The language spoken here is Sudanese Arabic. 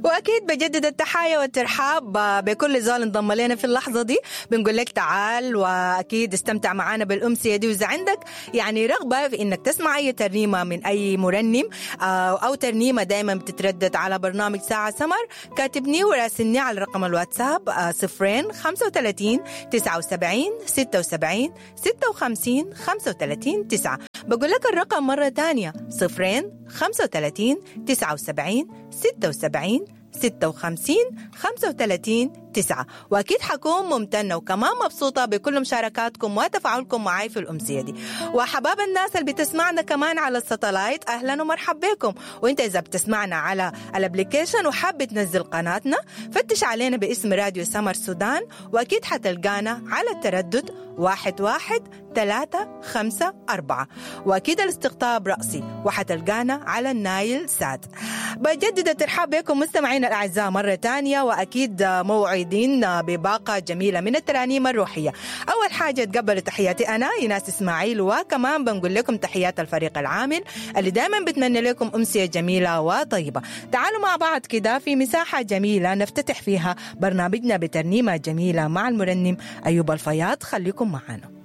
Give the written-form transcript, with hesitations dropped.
واكيد بجدد التحايا والترحاب بكل زول انضم لنا في اللحظة دي. بنقول لك تعال واكيد استمتع معانا بالامسيه دي، واذا عندك يعني رغبة في انك تسمع اي ترنيمة من اي مرنم او ترنيمة دائما بتتردد على برنامج ساعة سمر، كاتبني وراسلني على رقم الواتساب 0 35 79 76 56 35 9. بقول لك الرقم مرة تانية 0 35 79 76 56 35 9. وأكيد حكون ممتنة وكمان مبسوطة بكل مشاركاتكم وتفاعلكم معي في الأمسية دي. وحباب الناس اللي بتسمعنا كمان على ال satellite، أهلا ومرحبا بكم. وانت إذا بتسمعنا على ال application وحاب تنزل قناتنا، فتش علينا باسم راديو سمر سودان، وأكيد حتلقانا على التردد 11354، وأكيد الاستقطاب رأسي، وحتلقانا على النايل سات. بجدد الترحاب بكم مستمعينا الأعزاء مرة تانية، وأكيد موعدين بباقة جميلة من الترانيم الروحية. أول حاجة تقبلوا تحياتي أنا إيناس إسماعيل، وكمان بنقول لكم تحيات الفريق العامل اللي دائما بتمنى لكم أمسية جميلة وطيبة. تعالوا مع بعض كده في مساحة جميلة نفتتح فيها برنامجنا بترنيمة جميلة مع المرنم أيوب الفياض. خليكم معنا.